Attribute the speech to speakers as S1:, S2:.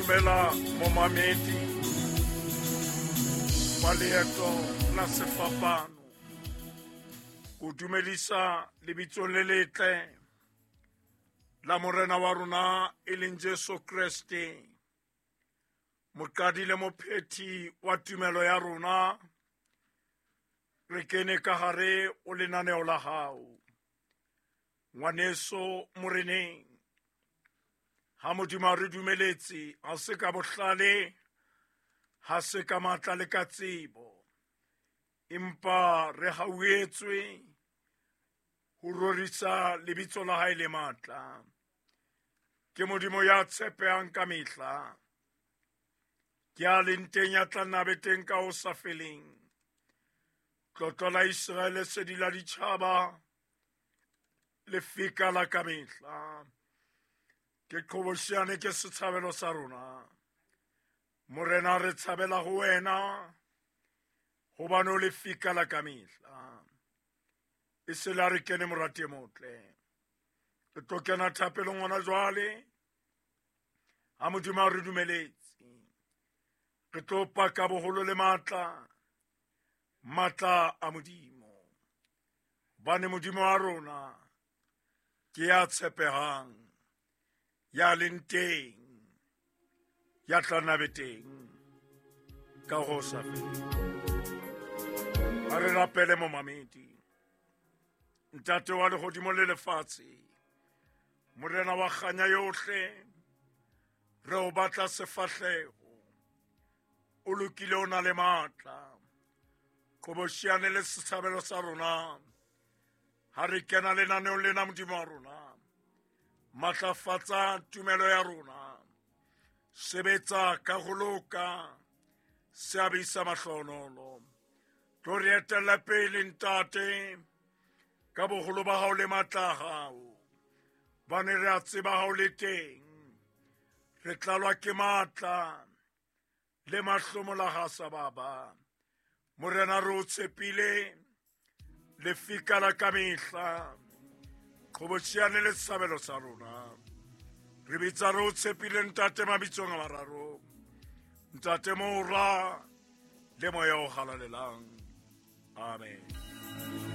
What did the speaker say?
S1: Dumela momamedi wa leeto la sefapano. Ko dumedisa lebitsong le letle la Morena wa rona e leng Jesu Kreste, moqadi le mophethi wa tumelo ya rona. Re kene ka hare o lenaneo la hao, ngwaneso moreneng. Ha Modimo a re dumeletse, ha se ka bohlale, ha se ka matla le ka tsebo, empa re hauetswe ho rorisa lebitso la hae le matla. Ke Modimo ya tshepehang ka mehla, ke a leng teng, ya tla nna be teng ka ho sa feleng. Tlotlo la Iseraele, sedi la ditjhaba, lefika la ka mehla. Ke qhobosheane, ke setshabelo sa rona. Morena, re tshabela ho wena, hobane o lefika la ka mehla. E se la re kene, morati e motle. Re tlo kena thapelong hona jwale. Ha Modimo a re dumeletse, re tlo paka boholo le matla, matla a Modimo. Hobane Modimo wa rona ke ya tshepehang, ya leng teng, ya tla nna be teng ka ho sa feleng. A re rapele, momamedi. Ntate wa lehodimo le lefatshe, Morena wa kganya yohle, re o batla sefahleho. O lokile, o na le matla. Qhobosheane le setshabelo sa rona. Ha re kena lenaneong lena, Modimo wa rona, matlafatsa tumelo ya rona. Sebetsa ka ho loka, seabe sa mahlonolo. Tlo re etella pele, Ntate, ka boholo ba hao le matla a hao. Bane re a tseba ha o le teng, re tlalwa ke matla le mahlomola ha sa baba. Morena, re o tshepile, lefika la ka mehla, qhobosheane le setshabelo sa rona. Re bitsa re o tshepile, Ntate, mabitsong a mararo, Ntate, Mora le Moya o Halalelang. Amen.